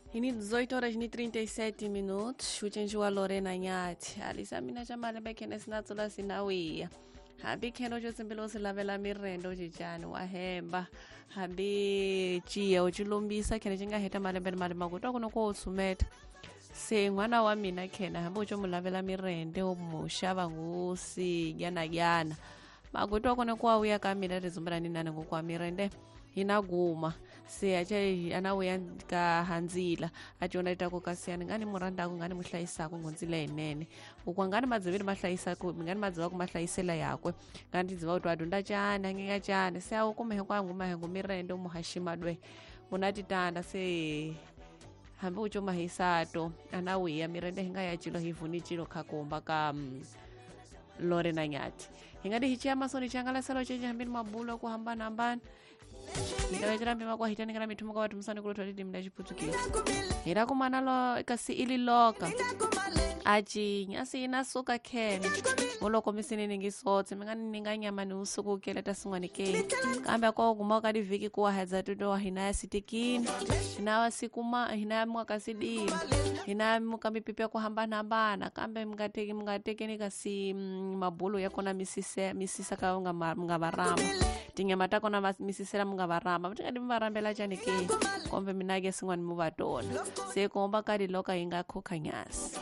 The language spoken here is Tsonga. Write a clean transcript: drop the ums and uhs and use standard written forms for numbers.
Ini 18 horas ni 37 minutos ucenjiwa Lorena Nyathi alisa mina xa malembe khene sinatsula sinawiya hambi khene uco tsimbila u si lavela mirende ucicani wa hemba hambi ciya u ci lombisa khene ci nga heta malembe ni malembe ku twa ku no ko u tshumeta se n'wana wa mina khena hambi u co mu lavela mirende u mu xava ngusi gyanagyana makutwa kone kuwa uya ka mina rizumbela ni nani ngokwa mirende hina guma se acha ana uya ka handzila aciona itako kasiyani ngani murandako ngani muhlayisako ngondzila yinene ukwa ngani madzivini mahlayisako ngani madziva ku mahlayisela yakwe ngani tidziva kuti adunda chani angenga chani se awukume hinkwangu mahengo mirende umuhaxima dwe unatitanda se hambi uco mahisato ana wiya mirende hinga ya cilo hivuni cilo khakumba ka Lorena Nyathi hingati hichiya masoni changalasalo chenje hambini mabulo ku hambana-hambana hitawecera mpima kwa hitanikana mithumo ka vatumisani kulo twatiti mna chiputukezi hira kumana lo kasi ili loka acinya asi ina suka khene moloko misini ningisotse mi nga ni ninga nyama ni usuku keleta sin'wani ke kambe ko guma ka divhiki ku wahedza tuto wa hina ya sitikini hina wa sikuma hina ya muka sidini hina ya muka mipipi ya ku hambanahambana kambe mi nga teki mi nga tekeni kasi mabulo ya kona misise misisa ka nga nga varamba tinyama ta kona misisela mi nga varamba mi tingadi mi varambela cani ke kombe mina ke sin'wani mi va tona se komba ka diloka yi nga khokha nyasi.